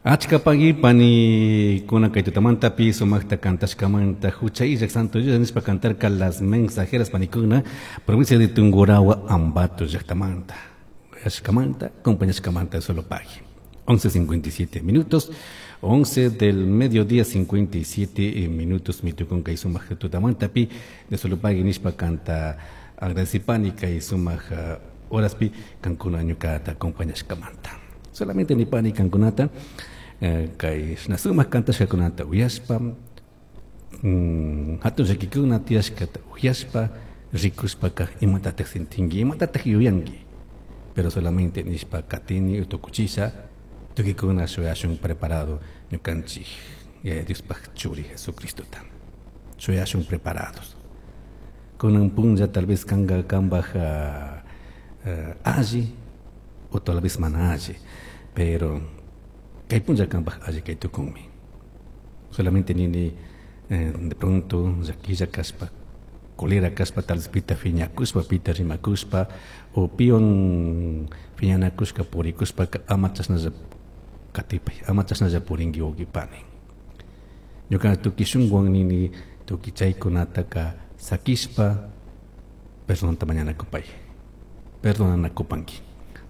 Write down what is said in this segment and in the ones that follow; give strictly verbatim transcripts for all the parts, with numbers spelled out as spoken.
Achka pagui panikuna kay tutamantapi sumaqta kantashkamanta hucha illak Santo Dios nishpa cantarka Las Mensajeras panikuna, provincia de Tungurahua, Ambato llaktamanta. Ashkamanta, acompañashkamanta solo pagui. once cincuenta y siete minutos, once del mediodía cincuenta y siete minutos, mitukun kay sumaq tutamantapi de solo pagui nishpa kanta agradecipani kay sumaq horaspi kankuna ñukata acompañashkamanta. Solamente nipani kankunata eh, kay shina sumaq kantashkakunata uyashpa, mm, hatun llakikuna tiyashkata uyashpa, rikushpaka, imatatak sintinki, imatatak yuyanki? Pero solamente nishpa katini tukuchisha, tukuykuna shuyashun preparado ñukanchik Yaya Diospaj churi Jesucristota, shuyashun preparados. Kunan punlla tal vez kanga kambaj uh, uh, alli o tal vez mana alli, pero kay punlla kambaj alli kay tukunmi. Solamente nini eh, de pronto llaquilla kashpa, colera kashpa, tal vez pita fiñakushpa, pita rimakushpa o piwan fiñanakushka purikushpa, ama chashnalla katipay, ama chashnalla purinki, wawqi pani. Ñuka tukuy shunkuwan nini, tukuy chaykunataka sakishpa perdonta mañanakupay, perdonanakupanki.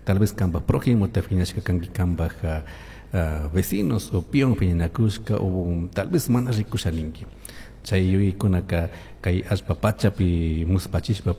Tal vez kanpak prójimota fiñashka kanki, kanpak uh, vecinos o piwan fiñanakushka o tal vez mana rikusha ninki, chay yuyaykunaka kay allpa pachapi muspachishpa.